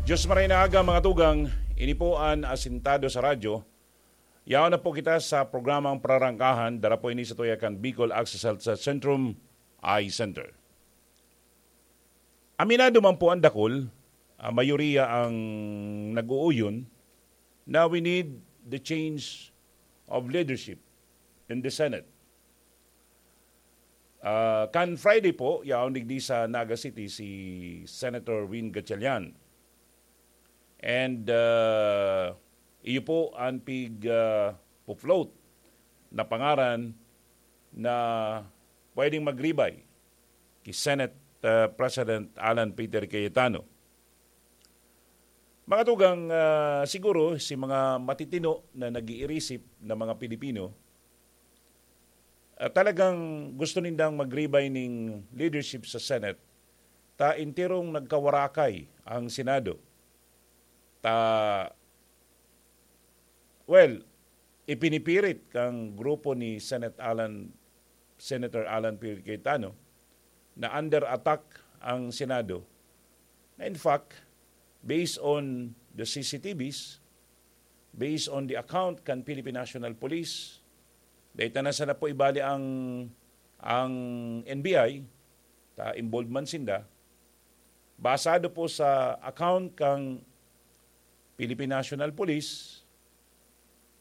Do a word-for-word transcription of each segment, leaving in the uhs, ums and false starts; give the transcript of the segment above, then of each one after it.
Diyos maray na aga, mga tugang, ini po an Asintado sa Radyo. Yaon na po kita sa programang Prarangkahan, dara po ini sa tuya kan Bicol Access Health Centrum Eye Center. Aminado man po ang dakul, ah, mayoriya ang nag-uuyon na we need the change of leadership in the Senate. Ah, kan Friday po, yaon digdi sa Naga City si Senator Win Gatchalian. And, ah, iyo po ang pig, ah, po-float na pangaran na pwedeng magribay ki Senate, ah, President Alan Peter Cayetano. Mga tugang, ah, siguro si mga matitino na nag-iirisip na mga Pilipino, ah, talagang gusto nindang magribay ning leadership sa Senate, ta enterong nagkawarakay ang Senado. Ta, well, ipinipirit kang grupo ni Senate Alan, Senator Alan Peter Cayetano na under attack ang Senado. Na in fact, based on the C C T Vs, based on the account kan Philippine National Police, dahil na sana po ibali ang, ang N B I, ta involved man sinda, basado po sa account kan Philippine National Police,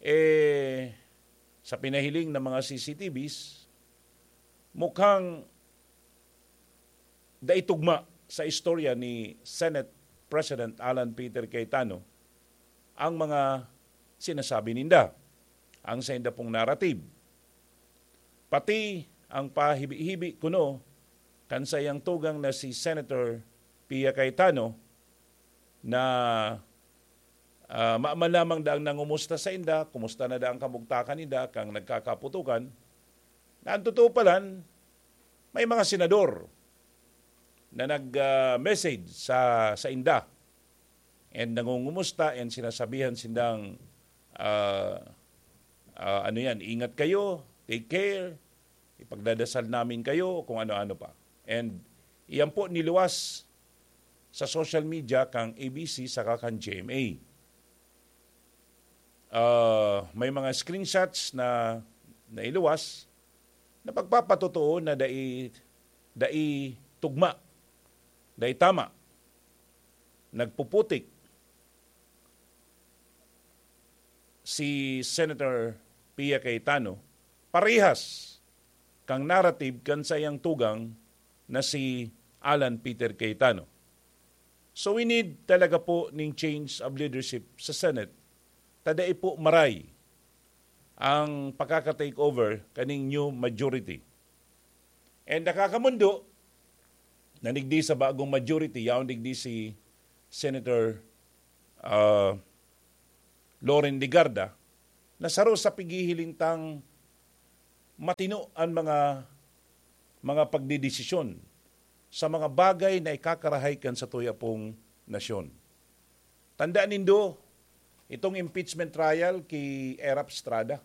eh, sa pinahiling na mga C C T Vs, mukhang dai tugma sa istorya ni Senate President Alan Peter Cayetano ang mga sinasabi ninda, ang sainda pong narrative. Pati ang pahibi-hibi kuno kan saiyang tugang na si Senator Pia Cayetano na, ah, ma-, man lamang daang nangumusta sainda, kumusta na daang kamugtakan ninda, kan nagkakaputokan, na ang totoo palan, may mga senador na nag, ah, message sa, sainda and nangungumusta and sinasabihan sindang, ah, ah, ano yan, "Ingat kayo, take care, ipagdadasal namin kayo," kung ano-ano pa. And iyan po niluwas sa social media kang A B C saka kan G M A. Ah, may mga screenshots na nailuwas na pagpapatotoo na dai, dai tugma, dai tama, nagpuputik si Senator Pia Cayetano, parehas kan narrative kan saiyang tugang na si Alan Peter Cayetano. So we need talaga po ning change of leadership sa Senate. Ta dai po maray ang pakaka-take over kaning new majority. And nakakamondo na digdi sa bagong majority, yaon digdi si Senator, ah, Loren Legarda, na saro sa pighihiling tang matino an mga, mga pagdedesisyon sa mga bagay na ikakarahay kan satuya pong nasyon. Tandaan nindo, itong impeachment trial ki Erap Estrada,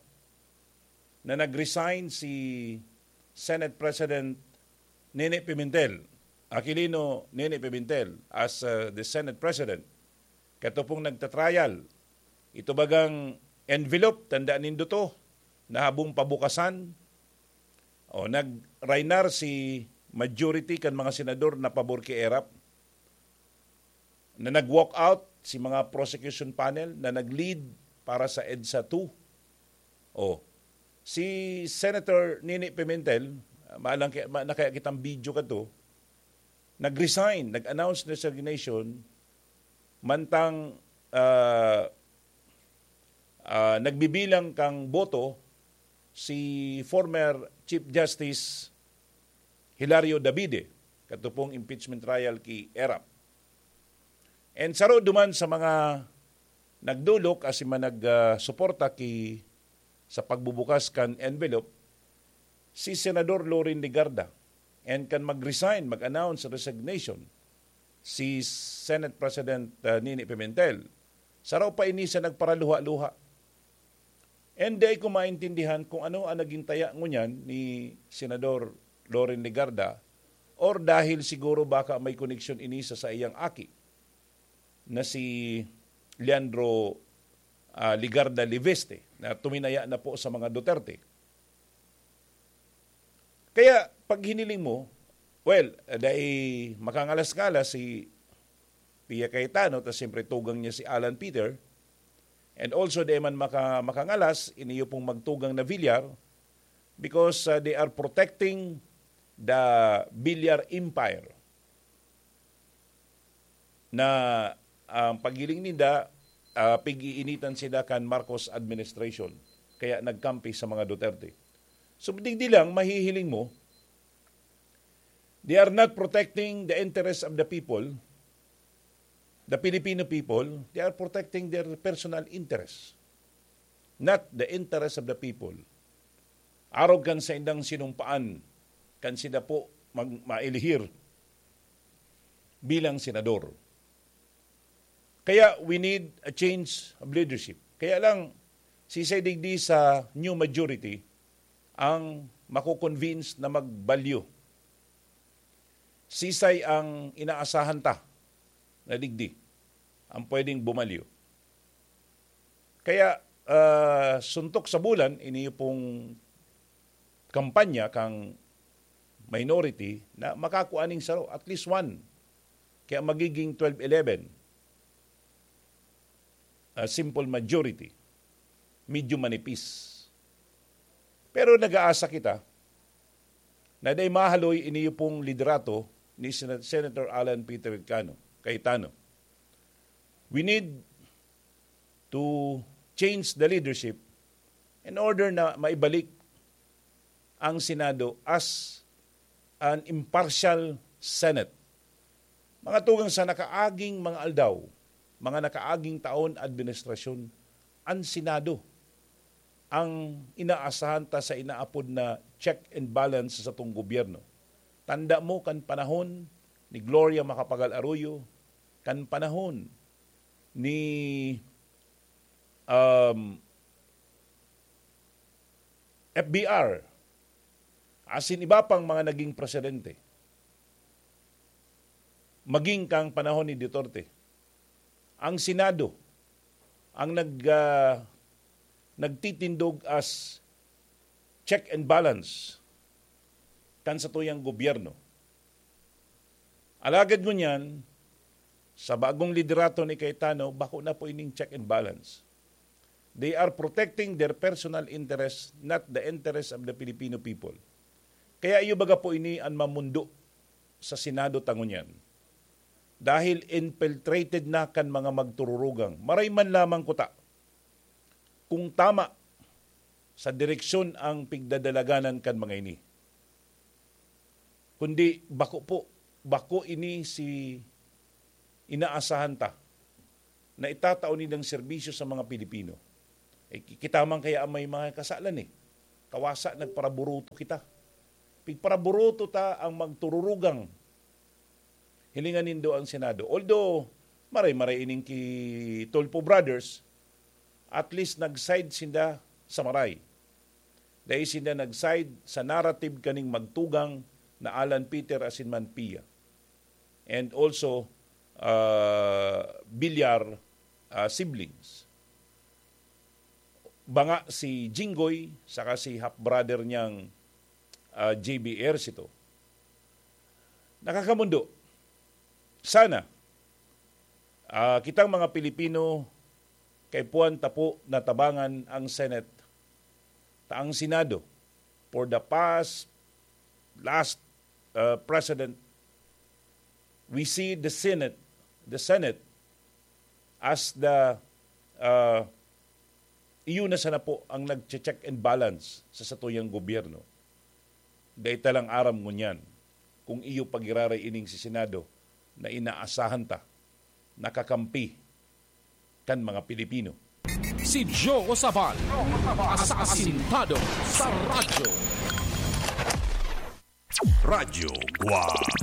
na nag-resign si Senate President Nene Pimentel, Aquilino Nene Pimentel, as, uh, the Senate President. Kato pong nagta-trial. Ito bagang envelope, tandaan nindo to, na habong pabukasan, o, nag-rainar si majority kan mga senador na pabor ki Erap, na nag-walk out si mga prosecution panel na nag-lead para sa EDSA two. O, si Senator Nini Pimentel, ah, maalang kaya, ma-, na kaya kitang video kato, nag-resign, nag-announce resignation, mantang, ah, ah, nagbibilang kang boto si former Chief Justice Hilario Davide, kato pong impeachment trial ki Erap. And saro duman sa mga nagdolok asin man nag, ah, suporta ki, sa pagbubukas kan envelope, si Senador Loren Legarda, and kan mag-resign, mag-announce resignation, si Senate President, ah, Nini Pimentel. Saro pa ini sa nagparaluha-luha. And di ko maintindihan kung ano ang naging taya ngunyan ni Senador Loren Legarda, or dahil siguro baka may koneksyon ini sa saiyang aki. na si Leandro, ah, Legarda Leviste, na tuminaya na po sa mga Duterte. Kaya, pag hiniling mo, well, dai makangalas-ngalas si Pia Cayetano, tas siyempre tugang niya si Alan Peter, and also dai man maka-, makangalas, ini iyo pong magtugang na Villar, because, ah, they are protecting the Villar Empire. Na ang paghiling ninda, ah, pig-iinitan sila kan Marcos administration, kaya nagkampi sa mga Duterte. So, digdi lang, mahihiling mo, they are not protecting the interests of the people, the Filipino people, they are protecting their personal interests, not the interests of the people. Arog kan saindang sinumpaan, kan sila po mag-, mailihir bilang senador. Kaya we need a change of leadership. Kaya lang, sisay digdi sa new majority ang mako-convince na magbalyo. Sisay ang inaasahan ta na digdi ang pwedeng bumalyo. Kaya, ah, suntok sa bulan, ini pong kampanya kang minority na makakua ning saro, at least one. Kaya magiging twelve eleven. A simple majority. Medyo manipis. Pero nag-aasa kita na dai mahaloy ini pong liderato ni Sen-, Senator Alan Peter Cayetano, Cayetano. We need to change the leadership in order na maibalik ang Senado as an impartial Senate. Mga tugang, sa nakaaging mga aldaw, mga nakaaging taon administrasyon, an Senado ang inaasahan ta sa inaapod na check and balance sa satong gobyerno. Tanda mo kan panahon ni Gloria Macapagal Arroyo, kan panahon ni, um, F B R, asin iba pang mga naging presidente. Maging kang panahon ni Duterte, ang Senado ang nag-, ah, nagtitindog as check and balance kan satuyang gobyerno. Alagad ngunyan, sa bagong liderato ni Cayetano, bako na po ining check and balance. They are protecting their personal interests, not the interests of the Filipino people. Kaya iyo baga po ini an mamundo sa Senado ta ngunyan. Dahil infiltrated na kan mga magtururugang. Maray man lamang kuta kung tama sa direksyon ang pigdadalaganan kan mga ini. Kundi bako po, bako ini si inaasahan ta na itatao nindang serbisyo sa mga Pilipino. Eh, ki-, kita man kaya ang may mga kasalan eh. Kawasa, nagparaburuto kita. Pigparaburuto ta ang magtururugang. Hilingan nindo ang Senado. Although, maray-maray ining ki Tulfo Brothers, at least nag-side sinda sa maray. Dai sinda nag-side sa narrative kaning magtugang na Alan Peter asin man Pia. And also, ah, Villar, ah, siblings. Banga si Jinggoy, saka si half-brother niyang, ah, J B Ejercito. Nakakamundo. Sana, ah, kitang mga Pilipino, kaipuhan ta po na tabangan ang Senate, ta ang Senado, for the past, last, ah, president, we see the Senate, the Senate as the, ah, iyo na sana po ang nagche-check and balance sa satuyang gobyerno. Dai ta lang aram ngunyan kung iyo pagiraray ining si Senado na inaasahan ta, nakakampi kan mga Pilipino. Si Joe Sabal, asasintado sa radyo. Radyo Guwang.